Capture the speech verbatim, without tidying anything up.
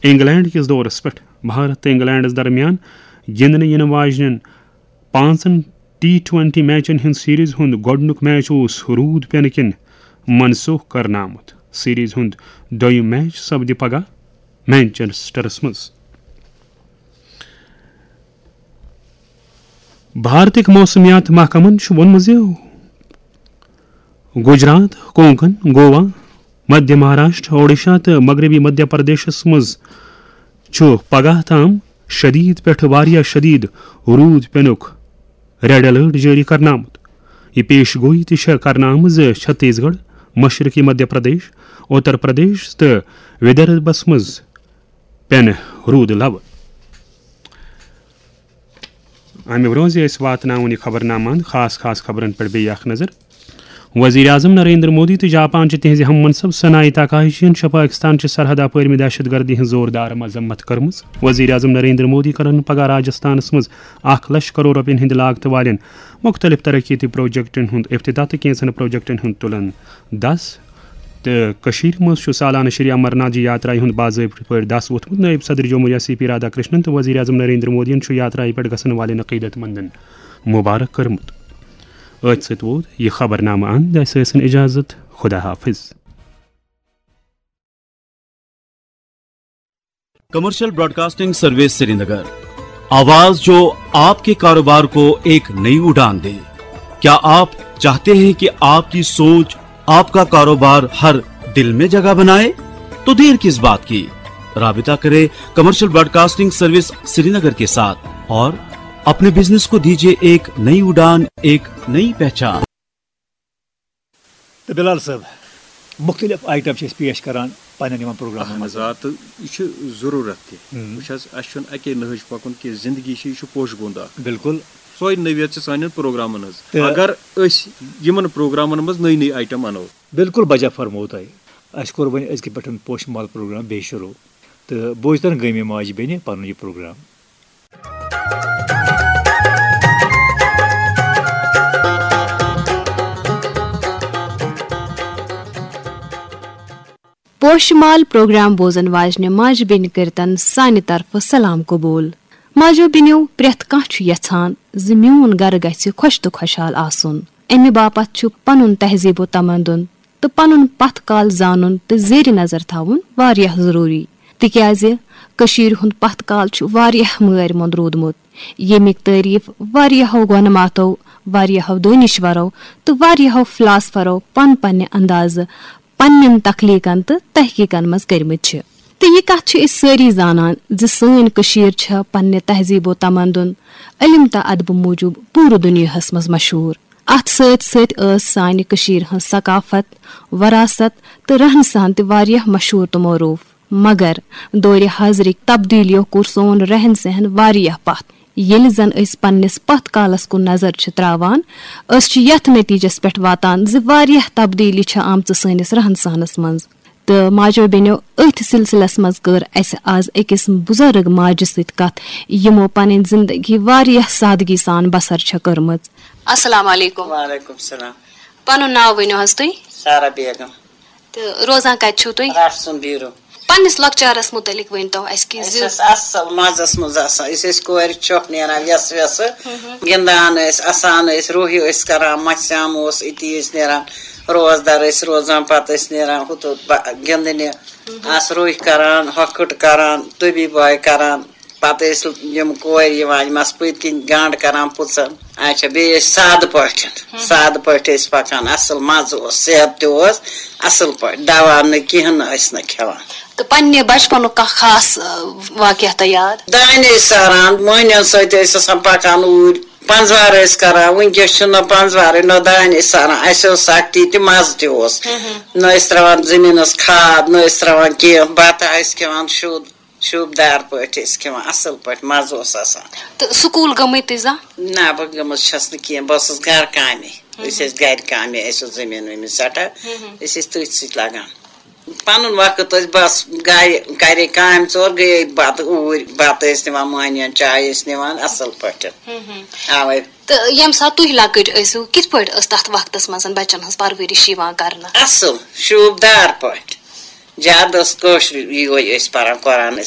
England کِس دورس پٮ۪ٹھ بھارت تہٕ انگلینڈس درمیان گِنٛدنہٕ یِنہٕ واجنٮ۪ن پانٛژن ٹی ٹوینٹی میچن ہٕنٛد سیریز ہُنٛد گۄڈٕنیُک میچ اوس روٗد پینہٕ کِنۍ منسوخ کرنہٕ آمُت۔ سیریز ہُنٛد دوٚیُم میچ سپدِ پگاہ مینچسٹرس منٛز۔ بھارتٕکۍ موسمیات محکمن چھُ ووٚنمُت زِ گجرات، کونکن، گوا، مدھیہ مہاراشٹر، اوڈیشہ تہٕ مغربی مدھیہ پردیشس منٛز چھُ پگاہ تام شدید پٮ۪ٹھ واریاہ شدید روٗد پینُک ریڈ الرٹ جٲری کرنہٕ آمُت۔ یہِ پیش گویی تہِ چھےٚ کرنہٕ آمٕژ زِ چھتیس گڑھ، مشرقی مدھیہ پردیش، اتر پردیش تہٕ ودربھس منٛز پینہٕ روٗد لبہٕ۔ امہِ برونٛہہ زِ أسۍ واتناوون یہِ خبرنامہٕ اند، خاص خاص خبرن پٮ۪ٹھ بیٚیہِ اکھ نظر۔ وزیر اعظم نریندر مودی تہٕ جاپان چہِ تِہنٛزِ ہم منصب سنائی تاکاہشی یَن چھےٚ پاکستان چہِ سرحد اپٲرۍ مہِ دہشت گردی ہٕنٛز زوردار مذمت کٔرمٕژ۔ وزیر اعظم نریندر مودی کرن پگاہ راجستھانس منٛز اکھ لچھ کرور رۄپین ہٕنٛدِ لاگتہٕ والٮ۪ن مُختٔلِف ترقیتی پروجیکٹن ہُنٛد افتتاح تہٕ کینٛژن پروجیکٹن ہُنٛد تُلن دس۔ تہٕ کٔشیٖرِ منٛز چھُ سالانہٕ شری امرناتھ جی یاترایہِ ہُنٛد باضٲبطہٕ پٲٹھۍ دس ووٚتھمُت۔ نٲیِب صدر جمہوریہ سی پی رادھا کرشنن تہٕ وزیر اعظم نریندر مودیَن چھُ یاترایہِ پٮ۪ٹھ گژھن والٮ۪ن عقیٖدت مندن مبارک کٔرمٕژ۔ أتھۍ سۭتۍ ووت یہِ خبرنامہٕ اند۔ اَسہِ ٲسِن اجازت۔ خدا حافظ۔ کمرشل براڈکاسٹنگ سروس سرینگر، آواز جو آپ کے کاروبار کو ایک نئی اڑان دے۔ کیا آپ چاہتے ہیں کہ آپ کی سوچ، آپ کا کاروبار ہر دل میں جگہ بنائے؟ تو دیر کس بات کی؟ رابطہ کریں کمرشل براڈکاسٹنگ سروس سرینگر کے ساتھ اور اپنے بزنس کو دیجیے ایک نئی اڑان، ایک نئی پہچان۔ تہٕ بلال صٲب، مُختٔلِف آیٹم چھِ أسۍ پیش کران پننٮ۪ن یِمن پروگرامن اہن منٛز۔ حظ، آ، تہٕ یہِ چھُ ضروٗرت تہِ۔ ہم۔ وٕچھ حظ، اَسہِ چھُنہٕ اَکے نہج پَکُن کینٛہہ، زندگی چھِ، یہِ چھُ پوشہٕ گُنٛد اکھ۔ بِلکُل۔ سۄے نٔویت چھِ سانٮ۪ن پروگرامن ہٕنٛز۔ تہٕ اگر أسۍ یِمن پروگرامن منٛز نٔے نٔے آیٹم اَنو۔ بِلکُل بجا فرموو تۄہہِ۔ اَسہِ کوٚر وۄنۍ أزکہِ پٮ۪ٹھ پوشہٕ مال پروگرام بیٚیہِ شروٗع۔ تہٕ بوزتن گٔے مےٚ ماجہِ بیٚنہِ پنُن یہِ پروگرام۔ پوشہٕ مال پروگرام بوزن واجنہِ ماجہِ بیٚنہِ کٔرتن سانہِ طرفہٕ سلام قبول۔ ماجو بیٚنیو، پرٛٮ۪تھ کانٛہہ چھُ یژھان زِ میون گرٕ گژھِ خۄش تہٕ خۄشحال آسُن۔ امہِ باپتھ چھُ پنُن تہذیب و تمدن تہٕ پنُن پتھ کال زانُن تہٕ زیرِ نظر تھاوُن واریاہ ضروٗری، تِکیازِ کٔشیٖرِ ہُنٛد پتھ کال چھُ واریاہ مٲرۍ مۄند روٗدمُت، ییٚمِکۍ تعریٖف واریاہو گۄنہٕ ماتو، واریاہو دٲنِشورو تہٕ واریاہو فلاسفرو پن پننہِ اندازٕ پننٮ۪ن تخلیقن تہٕ تحقیقن منٛز کٔرمٕتۍ چھِ۔ تہٕ یہِ کتھ چھِ أسۍ سٲری زانان زِ سٲنۍ کٔشیٖر چھےٚ پننہِ تہذیب و تمدن، علم تہٕ ادبہٕ موٗجوٗب پوٗرٕ دُنیاہس منٛز مشہوٗر۔ اتھ سۭتۍ سۭتۍ ٲس سانہِ کٔشیٖرِ ہٕنٛز ثقافت، وراثت تہٕ رہن سہن تہِ واریاہ مشہوٗر تہٕ معروٗف۔ مگر دورِ حاضرٕکۍ تبدیلیو کوٚر سون رہن سہن واریاہ پتھ۔ ییٚلہِ زن أسۍ پننِس پتھ کالس کُن نظر چھِ تراوان، أسۍ چھِ یتھ نتیجس پٮ۪ٹھ واتان زِ واریاہ تبدیلی چھِ آمژٕ سٲنِس رہن سہنس منٛز۔ تہٕ ماجو بیٚنیو، أتھۍ سلسلس منٛز کٔر اسہِ آز أکِس بُزرگ ماجہِ سۭتۍ کتھ، یِمو پنٕنۍ زندگی واریاہ سادگی سان بسر چھےٚ کٔرمٕژ۔ السلام علیکم۔ وعلیکم السلام۔ پنُن ناو ؤنِو حظ تُہۍ۔ سارا بیگم۔ تہٕ روزان کتہِ چھِو تُہۍ؟ رٹھ سُنٛد بیٖرو۔ پننِس لۄکچارس مُتعلق ؤنۍ تو اسہِ کہِ أسۍ زِ ٲسۍ اصل مزس منٛز آسان، أسۍ ٲسۍ کورِ چھۄکھ نیران ویسہٕ ویسہٕ، ہم۔ گِنٛدان ٲسۍ، اسان ٲسۍ، روہہِ ٲسۍ کران، مژھِ آم اوس، أتی ٲسۍ نیران، روزدار ٲسۍ روزان، پتہٕ ٲسۍ نیران ہُتھ ہُتھ با-، گِنٛدنہِ، آسہٕ روہہِ کران، ہۄکھٕٹ کران، تُبی بۄہہِ کران۔ پتہٕ ٲسۍ یِم کورِ یِوان، یِم آسہٕ پٔتۍ کِنۍ گنٛڈ کران پٕژن۔ اچھا، بیٚیہِ ٲسۍ سادٕ پٲٹھۍ، ہم۔ سادٕ پٲٹھۍ ٲسۍ پکان، اصل مزٕ اوس، صحت تہِ اوس اصل پٲٹھۍ، دوا نہٕ کِہیٖنۍ نہٕ ٲسۍ نہٕ کھٮ۪وان۔ تہٕ پننہِ بچپنُک کانٛہہ خاص، آ، واقعہ تۄہہِ یاد؟ دانہِ ٲسۍ ساران، مٔہنِین سۭتۍ ٲسۍ آسان پکان اوٗرۍ، پنٛزوار ٲسۍ کران، وٕنکیٚس چھُنہٕ پنٛزوارٕے، نہ دانہِ ٲسۍ ساران، اسہِ اوس سختی تہِ مزٕ تہِ اوس۔ ہم۔ نہ ٲسۍ تراوان زٔمیٖنس کھاد، نہ ٲسۍ تراوان کینٛہہ، بتہٕ ٲسۍ کھٮ۪وان شُد۔ شوٗبدار پٲٹھۍ ٲسۍ کھٮ۪وان، اَصٕل پٲٹھۍ مَزٕ اوس آسان۔ تہٕ سکوٗل گٔمٕتۍ تُہۍ زانٛہہ؟ نہ، بہٕ گٔمٕژ چھَس نہٕ کینٛہہ، بہٕ ٲسٕس گَرٕ کامے۔ ہُم۔ أسۍ ٲسۍ گَرِ کامے، اَسہِ اوس زٔمیٖن ؤمیٖن سٮ۪ٹھاہ۔ ہُم، ہُم۔ أسۍ ٲسۍ تٔتھۍ سۭتۍ لَگان۔ پَنُن وقت ٲسۍ بَس گَرِ، گَرے کامہِ ژور، گٔیے بَتہٕ اوٗرۍ، بَتہٕ ٲسۍ نِوان مۄہنِوٮ۪ن، چاے ٲسۍ نِوان، اَصٕل پٲٹھۍ۔ ہُم، ہُم۔ اَوَے۔ تہٕ ییٚمہِ ساتہٕ تُہۍ لۄکٕٹۍ ٲسِو، کِتھ پٲٹھۍ ٲس تَتھ وقتَس منٛز بَچَن ہٕنٛز پَرؤرِش یِوان کَرنہٕ؟ اَصٕل، شوٗبدار پٲٹھۍ۔ زیادٕ ٲس کٲشرُے یِہوٚے أسۍ پَران، قرآن ٲسۍ